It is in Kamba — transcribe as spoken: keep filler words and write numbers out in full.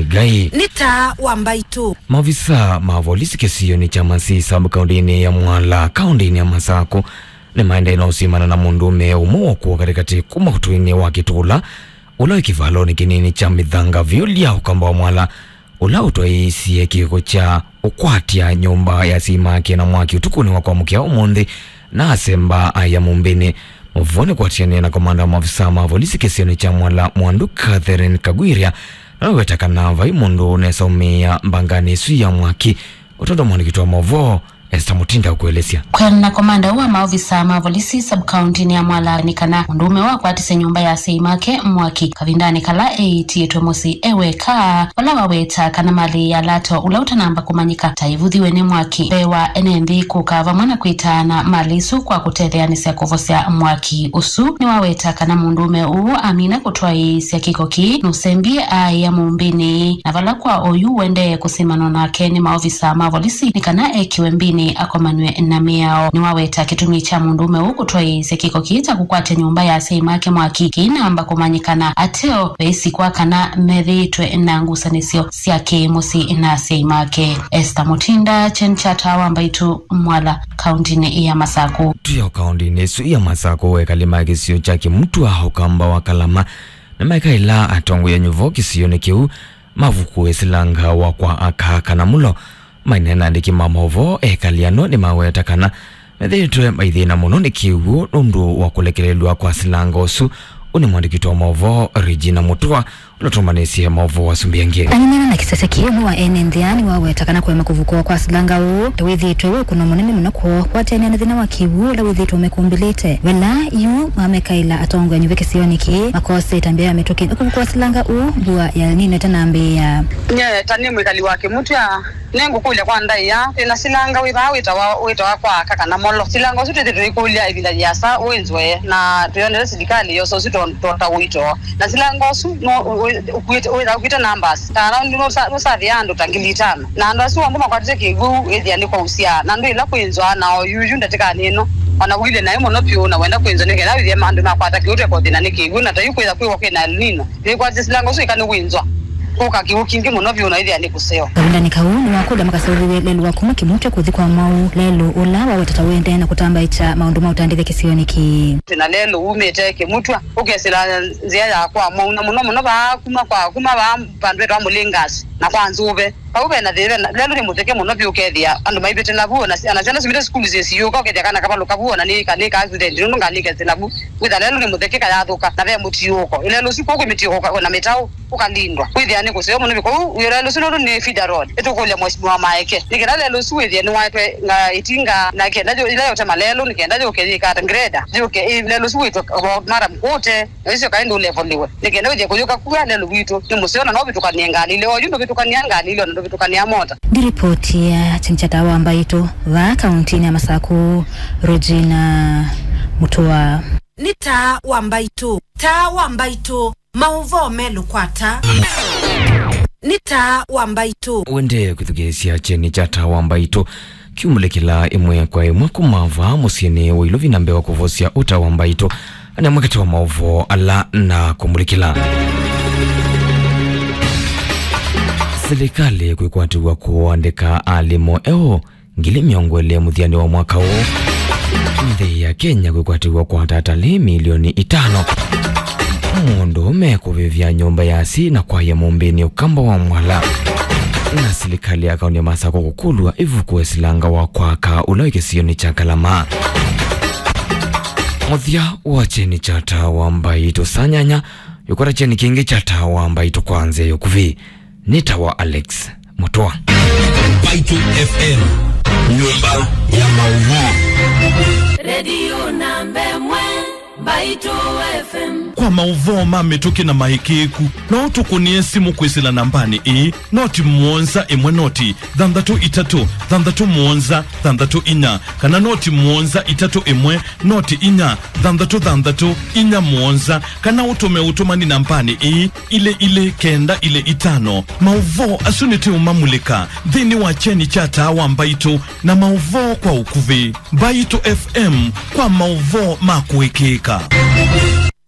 Ngai. Nĩ taa wa mbaitũ. Maovisa ma volisi kĩsionĩ kya Masii sub kaũntĩnĩ ya Mwala, kaũntĩnĩ ya Masakũ, nĩmaendee na ũsimana na mũndũũme ũmwe wokũwa katĩkatĩ kuma ũtũinĩ wa Kĩtũla, ũla wĩ kĩvalonĩ kĩnini kya Mĩthanga vyũ lya ũkamba wa Mwala, ũla ũtwaĩĩsye kĩko kya ũkwatya nyũmba ya asyai make na mwaki ũtukũnĩ wa kwamũkĩa ũmũnthĩ, na asemba aya mũmbĩnĩ. Maũvoo nĩ kwatĩanĩa na komanda wa maovisa ma volisi kĩsionĩ kya Mwala, Mwandu Catherine Kagwiria, na waweta kana vai mũndũ ũnesa ũmĩĩa mbanganĩ ĩsu ya mwaki, ũtondo mwandĩki wa maũvoo Esther Mutinda ũkũelesya. Kwĩanana na komanda ũũ wa maovisa ma volisi sub-county-nĩ ya Mwala, nĩ kana mũndũũme wakwatisye nyũmba ya asyai make mwaki kavindanĩ kala eĩtĩtwe mũsyĩ e weka, vala waweta kana malĩ ya lato ũla ũtanamba kũmanyĩka ta ĩvuthiwe nĩ mwaki mbee wa ene nthĩ kũka vamwe na kwĩtaana malĩ isu kwa kũtetheanĩsya kũvosya mwaki ũsu. Nĩwaweta kana mũndũũme ũũ amina kũtwaĩĩsya kĩko kĩĩ, nũsembie aĩa mũmbĩnĩ, na vala kwa oyu ũendee kũsimanwa nake nĩ maovisa ma volisi nĩ kana ekĩwe mbĩnĩ akomanw'e na mĩao. Nĩwaweta kĩtumi kya mũndũũme ũũ kũtwaĩĩsya kĩko kĩĩ kya kũkwatya nyũmba ya asyai make mwaki kĩinamba kũmanyĩkana ateo veisikwa kana methĩĩtwe na ngusanĩsyo sya kĩ-mũsyĩ na asyai make. Esther Mutinda, Kyeni kya Taa wa Mbaitũ, Mwala, kaũntĩnĩ ya Masakũ. Twĩ o kaũntĩnĩ ĩsu ya Masakũ, ekali ma kĩsio kya Kĩmutwa, ũkamba wa Kalama, nĩmaekaĩla atongoi a nyuvo kĩsionĩ kĩu mavukũe silanga wa kwa aka kana mũlo. Maineena na andĩki ma maũvoo, ekali ano nĩmaweta kana methĩĩtwe maithĩna mũno nĩ kĩw'ũ nũndũ wa kũlekelelw'a kwa silanga ũsu. Ũũ nĩ mwandĩki wa maũvoo Regina Mutua, ũla ũtũmanĩsye maũvoo wa Sumbi Angĩ. Aneeneena na kĩsese kĩĩ, ũmwe wa ene nthĩ aa nĩwaweta kana kũema kũvukũwa kwa silanga ũũ, ta wĩthĩĩtwe wĩ ũkũno mũnene mũno kwoo, kwatĩanĩa na thĩna wa kĩw'ũ ũla wĩthĩĩtwe ũmekũmbĩlĩte. Vala yu mamekaĩla atongoi a nyuvo kĩsionĩ kĩĩ makose ĩtambya ya mĩtũkĩ kũvukũwa silanga ũũ, mbua ya El Nino ĩtanambĩĩa. Nye ta nĩ mwĩkali wa Kĩmutwa, nĩngũkũlya kwa ndaĩa, twĩ na silanga wĩ vaa wĩtawa, wĩtawa kwa aka kana mũlo. Silanga ũsu twĩthĩĩtwe tũikũlya ĩvinda yĩasa wĩnzwe, na tũyonete silikalĩ yosa ũsu to-, tota ũito. Na silanga ũsu no, ũ-, ũ-, ũkuĩte, wĩtha ũkuĩte numbers. Ta around nũsa-, nũsavĩa andũ ta ngili itano. Na andũ asu onthe makwatĩte kĩw'ũ, ĩthĩa nĩ kwausya. Na andũ ĩla kwĩnzwa, na oyuyu ndatĩkanĩ ĩno, ona ũilye naĩ mũno vyũ, na wenda kwĩnzwa nĩ kenda wĩthĩe andũ makwata kĩw'ũ, tweka ũthĩna nĩ kĩw'ũ, na ta yu kwĩtha kwĩwa kwĩ na El Nino. Nĩkwatĩte silanga ũsu ĩka nĩ wĩnzwa. Kũka kĩw'ũ kingĩ mũno vyũ na ĩthĩa nĩ kũseo. Kavindanĩ kau, nĩwakũlya makaseũvĩw'e lelũ wa kuma Kĩmutwa kũthi kwa Mwau, lelũ ũla waweta ta ũendee na kũtambaĩkya maũndũ ma ũtandĩthya kĩsionĩ kĩĩ. Twĩ na lelũ wumĩte Kĩmutwa, ũkesĩla nzĩa ya kwa Mwau, na mũno mũno vaa kuma kwa, kuma vaa vandũ etawa Mũlĩngasi na kwa Nzũve. Vau ve na thĩna, lelũ nĩ mũtheke mũno vyũ, ũkethĩa andũ maivĩtĩla vu, ona si-, ona syana siumĩte sukulu syĩsiũka, ũkethĩa kana kavalũka vu, ona nĩ ka-, nĩ ka accident, nũndũ ngalĩ ĩkesĩla vu. Wĩtha lelũ nĩ mũtheke kayathũka, na ve mũtiũko. Ĩlelũ ũsu kũu kwĩ mĩtiũko na mĩtaũ. Ũkalindwa. Wĩthĩa nĩ kũseo mũno viko. Ũu wĩ lelũ ũsu nũndũ nĩ feeder road. Ĩtũkũlya Mheshimiwa Maeke nĩ kenda lelũ ũsu wĩthĩe nĩwaetwe nga ĩtinga na kenda yũ-, ĩla yũtema lelũ nĩ kenda yũke yĩkata grader. Yũke ĩ-, lelũ ũsu wĩtwe about Maram Kũte, na ũcio kaĩ ndũlevoliwe. Nĩ kenda wĩthĩe kũyũka kua lelũ witũ nĩ mũseo na no ũvĩtũkanie ngalĩ ile. Oyu ndũvĩtũkania ngalĩ ile, ona ndũvĩtũkania mota. Ndiripotia Kyeni kya Taa wa Mbaitũ vaa kaũntĩnĩ ya Masakũ, Regina Mutua. Nĩ Taa wa Mbaitũ. Taa wa Mbaitũ. Maũvoo melũ kwa Taa. Nĩ Taa wa Mbaitũ. Wendee kwĩthukĩĩsya Kyeni kya Taa wa Mbaitũ kiumũlĩkĩla ĩmwe kwa ĩmwe kuma vaa mũsyĩnĩ wa Ilovi na mbee wa kũvosya ũta wa mbaitũ. Anamwekete wa maũvoo ala na kũmũlĩkĩla. Silikalĩ kwĩkwatĩw'a kũandĩka alimũ eũ ngili mĩongo ĩlĩ mũthyanĩ wa mwaka ũũ. Nthĩ ya Kenya kwĩkwatĩw'a kwa atalii milioni itano. Mũndũũme kũvĩvya nyũmba ya asyai na kwaya mũmbĩnĩ ũkamba wa Mwala. Na silikalĩ ya kaũntĩ ya Masakũ kũkũlw'a ĩvukũe silanga wa kwaka ũla wĩ kĩsionĩ kya Kalama. Mũthya wa Kyeni kya Taa wa Mbaitũ saa nyanya, yũkwata Kyeni kĩngĩ kya Taa wa Mbaitũ kwa nzĩa ya ũkuvĩ. Nĩ Taa wa Alex Mũtũa. Mbaitũ F M, nyũmba ya maũvoo. Redio namba ĩmwe, Mbaitũ F M. Kwa maũvoo ma mĩtũkĩ na maĩkĩĩku, no ũtũkũnĩe simũ kwĩsĩla nambanĩ ĩĩ, noti mũonza ĩmwe noti thanthatũ itatũ thanthatũ mũonza thanthatũ inya, kana noti mũonza itatũ ĩmwe noti inya thanthatũ thanthatũ inya mũonza, kana ũtũme ũtũmani nambanĩ ĩĩ, ilĩ ilĩ kenda ilĩ itano. Maũvoo asu nĩtũũmamulĩka nthĩnĩ wa Kyeni kya Taa wa Mbaitũ na maũvoo kwa ũkuvĩ. Mbaitũ F M kwa maũvoo ma kũĩkĩĩka.